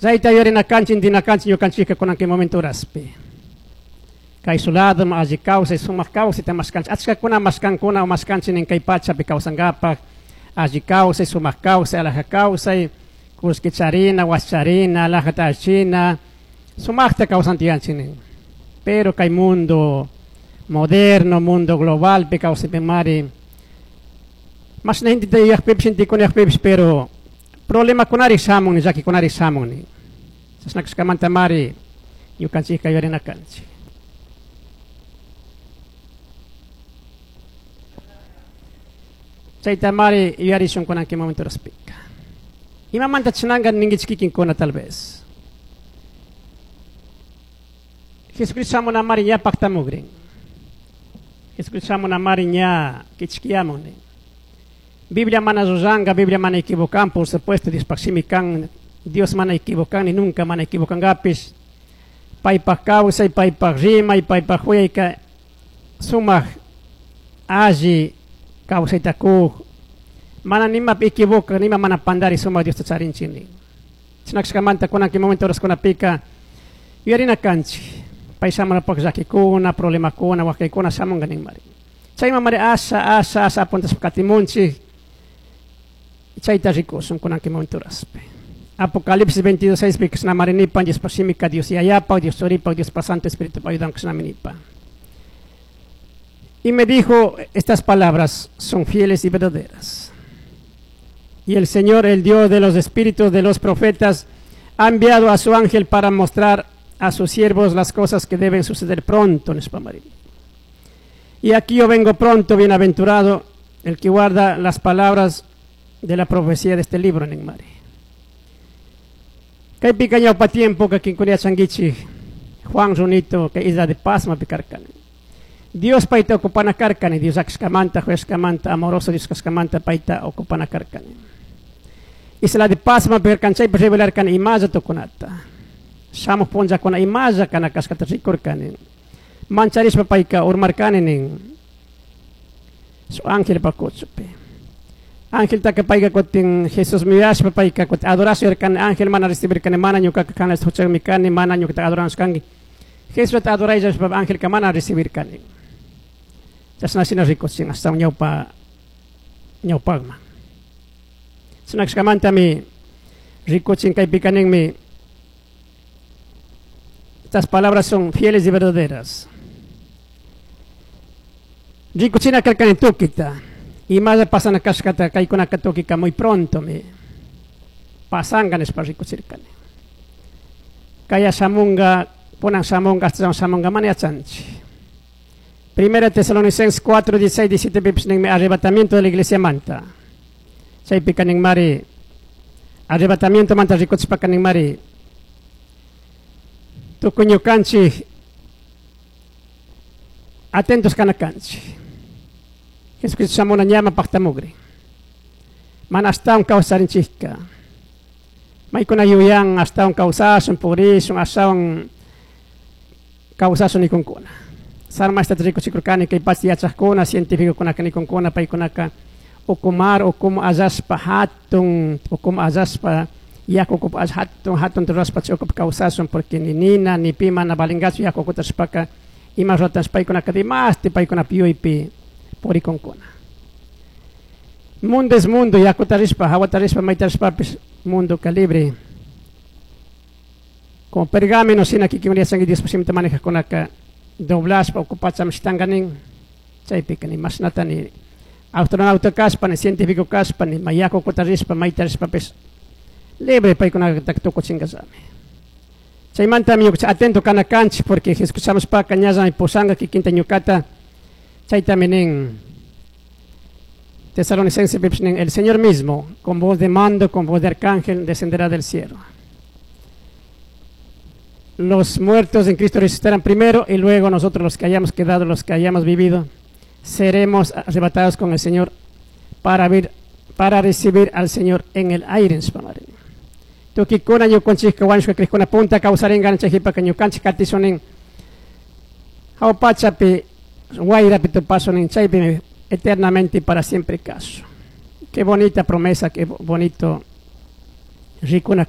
Chayta yuyarina kanchik, intina kanchik ñukanchikka kunan kay momento horaspi. Kay lado alli kawsay, sumak kawsayta mashkanchik. Achkakuna mashkankuna o mashkanchik nin kay pachapi kawsankapak, alli kawsay, sumak kawsay, alaja kawsay, kullki charina, wasi charina, alajata allichina, sumakta kawsantiyanchik nin. Pero kay mundo moderno, mundo globalpi kawsaypimari, mashna genteta yuyakpipish, gentekuna yuyakpipish, pero problemakunari shamun, llakikunari shamun nin. Chashna kashkamantamari ñukanchikka yuyarina kanchik. Chaytamari yuyarishun kunan kay momento horaspika. Imamanta chinanka ninkichik kikinkuna tal vez. Jesucristo shamunamari ña paktamukrin. Jesucristo shamunamari ña kichkiyamun nin. Biblia mana llullanka, Biblia mana equivocan, por supuesto, Dios shimi kan, Dios mana equivocan, ni nunca mana equivocangapish. Paypak kawsay, paypak rimay, paypak huyayka sumak alli kawsayta kuk. Mana nimapi equivoca, nima mana pandari sumak Diosta charinchik nin. Chashna kashkamanta kunan kay momento horaskunapika yuyarina kanchik. Pay shamunapak llakikuna, problemakuna, wakaykuna shamunka ninmari. Chayman mari asha, asha, asha apuntashpa katimunchik. Chayta rikushun kunan kay momento horaspi. Apocalipsis 22:6 pi kashnamari nipan, Diospa shimika Dios Yayapa, Dios Churipa, Diospa Santo Espíritu pa ayudan kashnami nipan. Y me dijo, estas palabras son fieles y verdaderas. Y el Señor, el Dios de los espíritus de los profetas, ha enviado a su ángel para mostrar a sus siervos las cosas que deben suceder pronto, nishpa mari. Y aquí yo vengo pronto, bienaventurado el que guarda las palabras de la profecía de este libro, ninmari. Kaypika ñawpa tiempo ka kinkuna yachankichik, Juan runito kay isla de Pasma pikarkani. Dios payta ocupana karkani, Dios akshkamanta, juyashkamanta, amoroso Dios kashkamanta payta ocupana karkani. Isla de Pasma pikarkan chaypi revelarkani imalla tukunata. Shamuj punllakuna imalla kana kashkata rikurkani. Mancharishpa payka urmarkani nin. Su ángel pa kuchupi. Angeltaka payka kutin Jesús miyashpa payka kutin adoración yarkani, ángel mana recibirkani, mana ñukaka kana huchakmi kani, mana ñukata adoranshkanki. Jesusta adorayllashpa angelka mana recibirkani. Chashna shina rikuchin hasta ñawpa ñawpakman. Chashna kashkamantami rikuchin kaypika ninmi, estas palabras son fieles y verdaderas. Rikuchina karkani tukita. Imalla pasana kashkata kaykunaka tukika muy pronto mi pasanka nishpa rikuchirkani. Kaya shamunga, kunan shamunga, hasta shamunga mana yachanchik. Primera Tesalonicenses 4, 16, 17, pipish ninmi arrebatamiento de la iglesia manta. Chaypika ninmari arrebatamiento manta rikuchishpaka ninmari tukuy ñukanchik atentos kana kanchik. Jesucristo shamuna ñama paktamugri. Mana ashtawan kawsarinchikka. Maykuna yuyan ashtawan kawsashun, purishun, ashtawan kawsashun nikunkuna. Sarmashta rikuchikurkani kay pacha yachaqkuna, cientificokuna nikunkuna, paykunaka ukumar, ukumu allashpa hatun, ukumu allashpa yaku ukupi hatun, hatun rurashpa chay ukupi kawsashun, porque ni nina, ni pi mana valingachu yaku ukuta rishpaka, ima ruratash paykunaka dimasti paykunapi yuypi purikunkuna. Mundo es mundo, yakuta rishpa, hawata rishpa, mayta rishpapis, mundo calibre. Como pergamino, shina kikin yachanki Dios shimita manejajkunaka, doblashpa, okupachami shitankanin, chaypika ni mashnata ni astronauta kashpa, ni científico kashpa, ni ma yaku ukuta rishpa, mayta rishpapis, libre paykunaka tukuchinkallami. Chaymantami ñukanchik atento kana kanchik, porque Jesucristo shamushpaka ñallami pushanka kikinta ñukata, chaytami nin Tesalonicenses pipish nin, el Señor mismo, con voz de mando, con voz de arcángel, descenderá del cielo. Los muertos en Cristo resucitarán primero y luego nosotros los que hayamos quedado, los que hayamos vivido, seremos arrebatados con el Señor para recibir al Señor en el aire. Tukikuna ñukanchikka wañushka krikuna punta kawsarinka chaypaka ñukanchik katishunin hawa pachapi wayrapi tupashunin chaypi eternamente y para siempre caso. Qué bonita promesa, qué bonito rikuna.